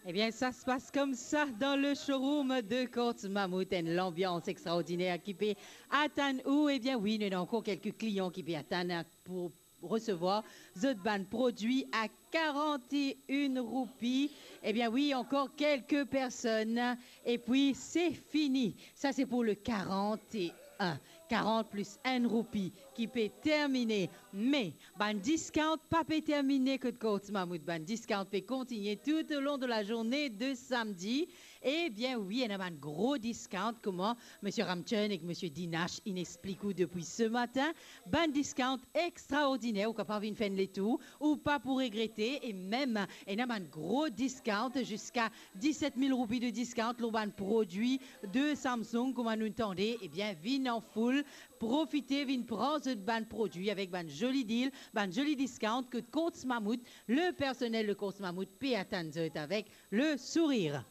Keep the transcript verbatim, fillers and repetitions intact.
Ebien, sa se pas koumsa dan le showroom de Courts Mammouth, enn lanbians extraordiner ki pe atann ou. Ebien wi, nou ena ankor kelke klian ki pe atann pou resevwar zot bann prodwi a karant-e-enn roupi. Ebien wi, ankor kelke personn, epi se fini. Sa se pou le karant-e-enn, karant plis enn roupi ki pe termine. Me bann discount pa pe termine kot Courts Mammouth, bann discount pe kontigne toutalong de lazourne de samdi. Ebien wi, ena bann gro discount, kouma Misie Ramchun ek Misie Dinash inn explik ou depi se matin. Bann discount extraordiner, ou kapav vinn fer enn letour, ou pa pou regrete. E mem ena bann gro discount, ziska diset mil roupi de discount lor bann prodwi de Samsung, kouma nou'nn tande. Ebien vinn an foul, profite, vinn pran zot bann prodwi avek bann zoli deal, bann zoli discount kot Courts Mammouth. Le personel de Courts Mammouth pe atann zot avek le sourir.